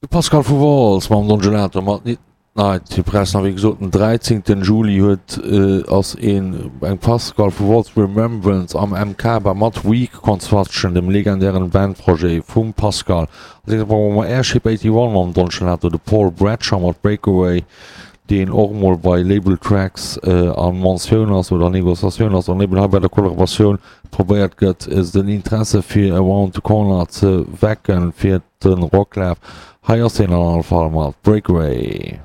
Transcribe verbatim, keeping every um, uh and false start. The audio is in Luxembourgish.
De Pascal vu Wolz mam Don Gelato mat Midnight Press a wéi gesot den dräizéngten Juli huet ass een eng Pascal vu Wolz Remembrance am M K bei mat Weak Construction, dem legendären Bandprojet vum Pascal. Als nächstes brauche mer Airship einundachtzig mam Don Gelato, de Paul Bradshaw mat Breakaway, deen och mol bei Label Tracks a Mentioun ass oder Negociatioun ass an eben hei bei der Kollaboratioun probéiert gëtt, den Interesse fir Around the Corner ze wecken fir de Rocklaf. Hei ass hien an alle Fall mat Breakaway.